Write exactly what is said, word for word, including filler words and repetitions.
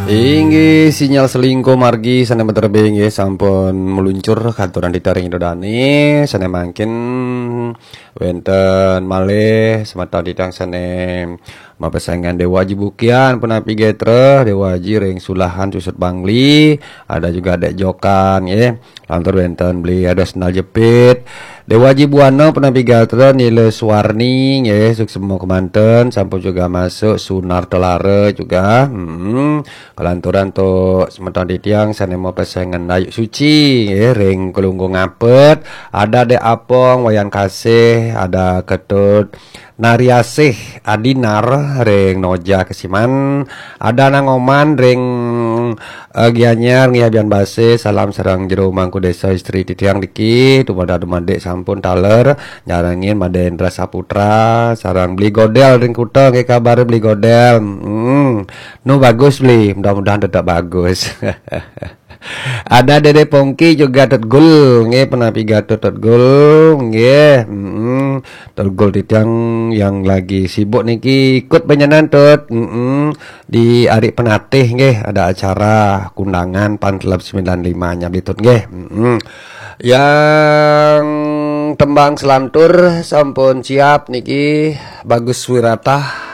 Inggih, sinyal selingkuh margi sané meterbe inggih sampun meluncur katuran titiang ring Ida Dane. Sané mangkin wénten malih semeton titiang sané mapesengan Dewa Aji Bukian punapi gatra, Dewa Aji ring Sulahan Cucut Bangli, ada juga Dek Jokan nggih. Lantur wénten Beli ada Sendal Jepit, Dewa Aji Buana punapi gatra, Nila Suwarni nggih, suksma kemanten, sampun juga masuk, Sunar Telara juga. Hmm. Kalanturan tu semeton titiang sané mapesengan Dayuk Suci nggih, ring Kelungkung Apet, ada Dek Apong, Wayan Kasih, ada Ketut Nariasih Adinar ring Noja Kesiman, ada Nang Oman ring eh, Gianyar nggih, Abian Base, salam sareng jero mangku desa, istri titiang niki, dumadak dumadik sampun taler nyarengin Madé Indra Saputra, sareng Beli Godel ring Kuta nggih, kabar Beli Godel. Hmm. Nu bagus Beli, mudah-mudahan tetap bagus. Ada Dede Pongki juga Tut Gul nggih, punapi gatra Tut Gul nggih. Hmm. Tut Gul titiang yang lagi sibuk niki ikut penyenan Tut. Hmm. Di ari Penatih nggih, ada acara kundangan Fan Club sembilan lima nya Beli Tut nggih. Mm-mm. Yang tembang selantur sampun siap niki, Bagus Wirata.